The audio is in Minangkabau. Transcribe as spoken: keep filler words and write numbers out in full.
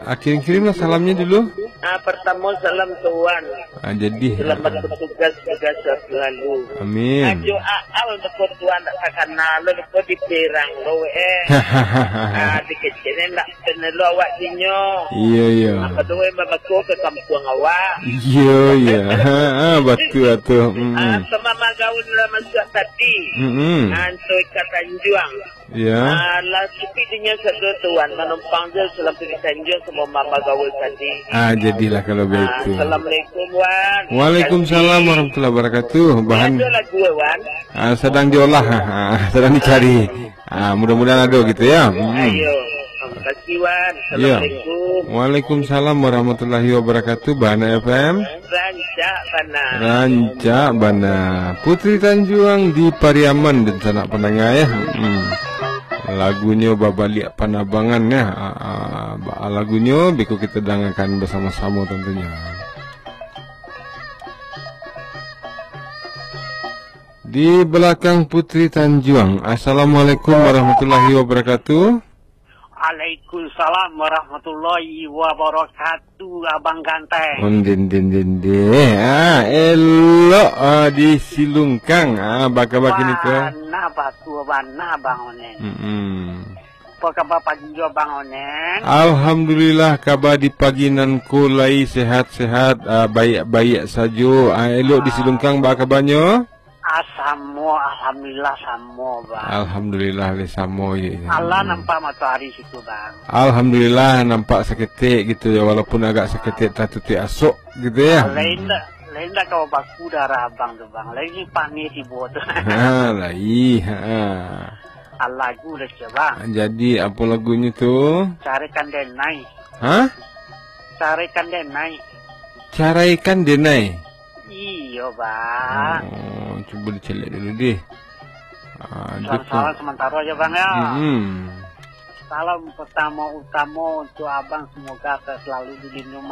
Ah, kirim-kirimlah salamnya dulu. Ah, pertama salam Tuan. Ah, jadi. Selamat bertugas, tugas selalu. Amin. Ajo Aal deko Tuan dak takana lo deko di Perang lo eh. Ah, di kecil ni ndak kenal lo awak dinyo. Iya, iya. Apa tu eh babako ke kampung awak. Iya, iya. Ha, ha, betul, betul. Mm-mm. Ah, sama magaun lah masuk tadi. Mm-mm. Ah, Anto Ika Tanjuang. Ya. Ah, lah supi dinyo sado Tuan, manumpang je salam Putri Tanjuang samo mama gaul tadi. Ah, jadilah kalau Ah, begitu. Assalamualaikum, Wan. Waalaikumsalam warahmatullahi wabarakatuh. Bahan Ada lagu, Wan. Ah, sedang diolah, ah, sedang dicari. Ah, mudah-mudahan ada gitu ya. Hmm. Ayo. Terima kasih, Wan. Ya. Assalamualaikum. Waalaikumsalam warahmatullahi wabarakatuh. Bahana F M. Rancak bana. Rancak bana. Putri Tanjuang di Pariaman, dunsanak pandanga ya. Hmm. Lagunyo babaliak panabangan ya. Ah, ah, ba- lagunyo beko kita dangakan basamo-samo tantunyo. Di balakang Putri Tanjuang. Assalamualaikum warahmatullahi wabarakatuh. Waalaikumsalam warahmatullahi wabarakatuh, Abang Ganteng. Ondin, din, din, din. Ah, elok, ah, di Silungkang. Ah, baka-baka ni ko. Bana batua bana, Bang Onen. Mm-mm. Apa kaba pagi jo, Bang Onen? Alhamdulillah, kaba di pagi nan ko lai sehat-sehat, ah, baiak-baiak sajo. Ah, elok di Silungkang, baa kabanyo? Ah, samo, alhamdulillah, samo, Bang. Alhamdulillah, le samo, ye, ye. Alah nampak matoari situ, Bang. Alhamdulillah, nampak saketek gitu ya, walaupun agak saketek tatutuik asok gitu ya. Ah, lain dak, lain dak kawa baku darah Abang tu, Bang. Lain ni panih tibo tu. Ha, lai, ha. Ah, lagu dah siap, Bang. Jadi, apa lagunyo tu? Carikan Denai. Hah? Carikan Denai. Caraikan Denai? Iyo, Bang. Oh, cubo dicaliak dulu deh. Ah, dia tu. Salam-salam sementara aja, Bang, ya. Mm-mm. Salam pertama utama untuk Abang, semoga selalu dilindungi